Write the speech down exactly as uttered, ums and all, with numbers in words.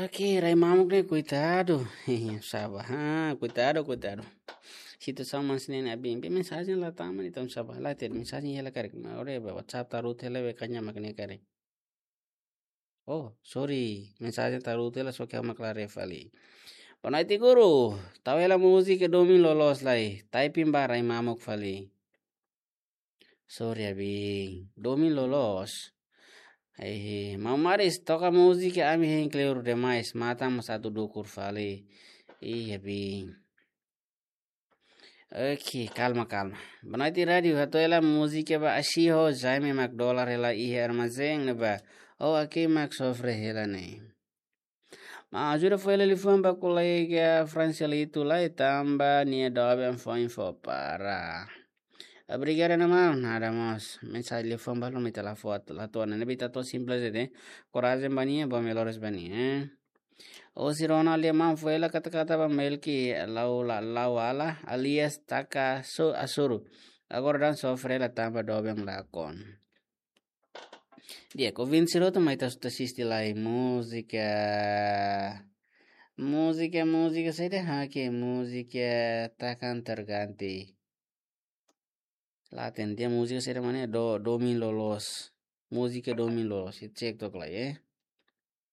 Oke, rai mamuk ne'e, koitadu. Sá ba, ha, koitadu, koitadu. Situasaun manas ne'e, abin, be mensajen la tama ne'e, entaun sá ba, la ter mensajen hela karik. Ora be WhatsApp tarutu hela be kaña mak ne'e karik. Oh, sorry, mensajen tarutu hela, só ke ha'u mak la haree fali. Boa noite, guru. Tau hela múzika domin loloos lai. Typing ba rai mamuk fali. Sorry, abin. Domin loloos. Eh, Maun Maris, toka múzika ami hein kleur demais. Matan mós atu dukur fali. Ih, abin. Oke, kalma, kalma. Boa noite, rádiu. Hato'o hela múzika ba Ashiho, Jaime mak dolar hela iha armazén ne'ebá. Oh, oke, mak sofre hela ne'e. Maun, ajuda fó hela liafuan ba kolega Francielito lai, tanba nia doben foin fó para. Obrigadu, maun. Nada mós. Mensajen liafuan balu mak ita la fó, la to'o ona. Ne'ebé ita to'o simples de'it. Korajen ba nia, ba melhores ba nia, eh. Husi Ronald Liamão, fó hela kata-kata ba Melki Lau La-, Lauala, alias Taka Su-, Asuru. Agora daudaun sofre hela tanba doben lakon. Di'ak, ouvinte sira hotu mai ita atu asiste lai múzika. Múzika, múzika saida, hakke múzika Takkan Terganti. La hatene, múzika saida mak ne'e, do, domin loloos. Múzika domin loloos. Ita cek took lai, eh.